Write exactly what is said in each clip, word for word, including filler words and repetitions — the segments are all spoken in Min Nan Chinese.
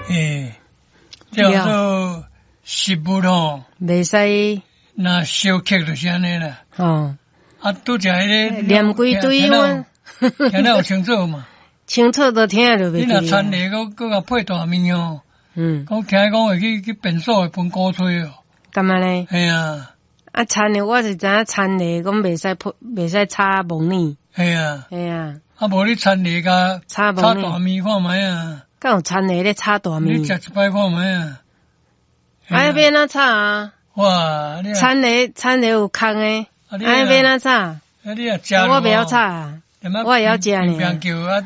欸，叫做食物吼，袂使若相剋就是按呢啦。吼。啊，拄才彼个念幾堆我，聽得有清楚嘛？清楚都聽著袂。你若田螺閣閣共配大麵哦，嗯，講聽講會去去便所會分鼓吹哦。敢按呢？嘿啊。啊，田螺我是知影田螺講袂使配，袂使炒木耳。嘿啊。嘿啊。啊，無你田螺共炒炒大麵看覓啊？敢有田螺咧炒大麵？你食一擺看覓啊？啊，欲按怎炒啊？哇！田螺田螺有空的，啊，欲按怎炒？啊，你若食，我袂曉炒啊，我會曉食呢。邊叫啊，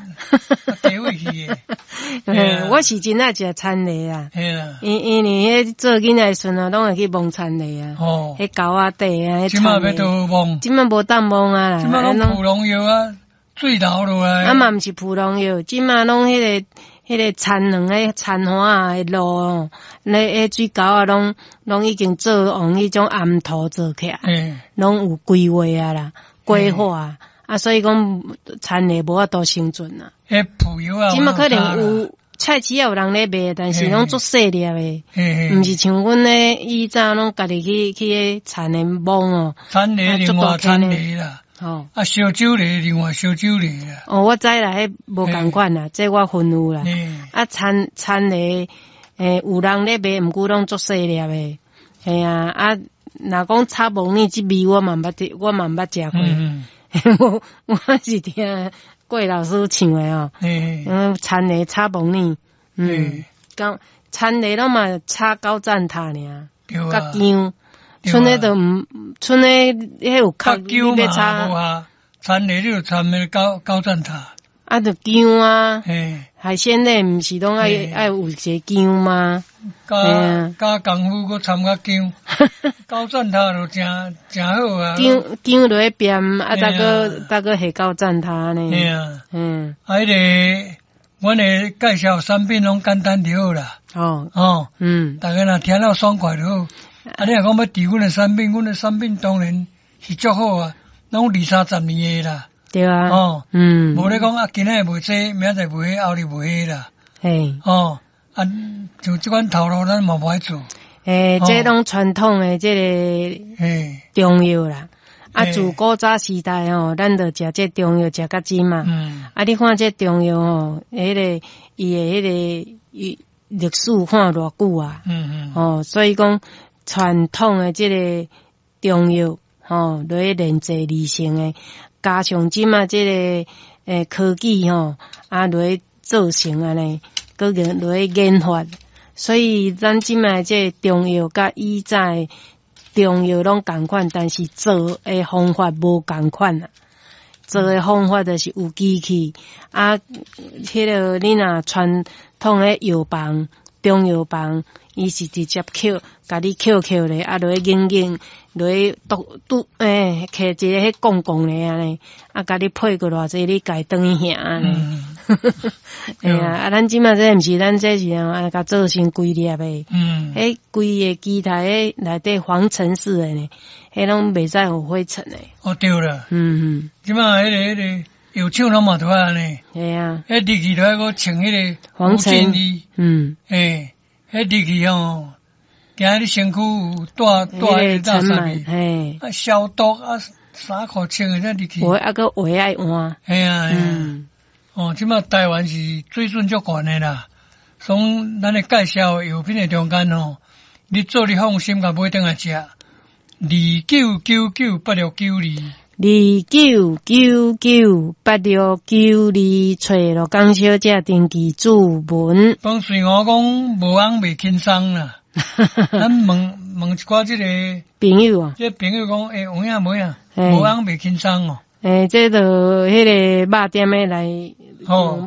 地位去的。我是真愛食田螺啊。嘿啦。因因為彼做囡仔的時陣啊，攏會去摸田螺啊。哦。彼溝仔底啊，這馬欲佗摸？這馬無當摸啊啦。這馬攏撲農藥啊，水流落來。啊嘛毋是撲農藥，這馬攏彼個。彼個田圇彼田岸仔的路哦，咧彼水溝仔攏攏已經做用彼種頷土做起來，攏有規劃啊啦，規劃啊，啊所以講田螺無法度生存啊。彼撲藥啊，這馬可能有菜市仔有人咧賣，但是攏足細粒的，毋是像阮咧以早攏家己去去彼田螺摸哦。田螺另外田螺啦。哦，啊，燒酒螺另外燒酒螺啦。哦，我知啦，彼無仝款啦，這我分有啦。啊，田田螺，欸，有人咧賣，毋過攏足細粒的。嘿啊，啊，若講炒木耳這味我嘛毋捌，我嘛毋捌食過。我我是聽郭老師唱的哦。嗯，田螺炒木耳，嗯，講田螺攏嘛炒九層塔爾，佮薑。賰的都毋，賰的彼有較你欲炒啊？田螺你就摻彼九九層塔。啊，就薑啊，海鮮類毋是攏愛愛有一個薑嗎？加加功夫，閣摻較薑，九層塔就誠誠好啊。薑薑落去煸，啊，再閣再閣下九層塔呢。嘿啊，嗯，啊，彼个阮的介紹產品攏簡單就好啦。哦哦，嗯，逐家若聽了爽快就好。啊，你若講欲佇阮的產品，阮的產品當然是足好啊，攏二三十年的啦。對啊。哦，嗯，無咧講啊，今仔日賣這，明仔載賣彼，後日賣彼啦。嘿。哦，啊，像這款頭路，咱嘛無愛做。欸，這攏傳統的這個中藥啦。啊，自古早時代吼，咱就食這中藥食到這嘛。嗯。啊，你看這中藥吼，彼個伊的彼個伊歷史看偌久啊。嗯嗯。哦，所以講傳統的這個中藥，吼，落去煉製而成的，加上這馬這個欸科技吼，啊落去做成按呢，閣研落去研發，所以咱這馬這個中藥佮以早的中藥攏仝款，但是做的方法無仝款啊。做的方法就是有機器啊，彼個你若傳統的藥房、中藥房，伊是直接抾，共你抾抾咧，啊落去研研，落去拄拄欸，摕一个彼摃摃咧按呢，啊共你配過偌濟，你家轉去行按呢。嘿啊，啊咱這馬這毋是，咱這是啊，共做成規粒的。嗯。彼規个機台彼內底防塵式的呢，彼攏袂使有灰塵的。哦，對啦。嗯嗯。這馬彼个彼个藥廠攏嘛都愛按呢。嘿啊。彼入去都愛閣穿彼個防塵。嗯。欸，彼入去吼，驚你身軀有帶帶彼個垃圾嘿。啊，消毒啊，衫褲穿的才入去。有啊，閣鞋愛換。嘿啊，嗯。哦，這馬台灣是水準足懸的啦。所以咱的介紹藥品的中間吼，你做你放心，共買轉來食。二九九九八六九二。二九九九八六九二，揣羅江小姐登記注文。當時我講無翁袂輕鬆啦，咱問問一寡這個朋友啊，這個朋友講，欸，有影無影？無翁袂輕鬆哦。欸，這就彼個肉店的來。哦。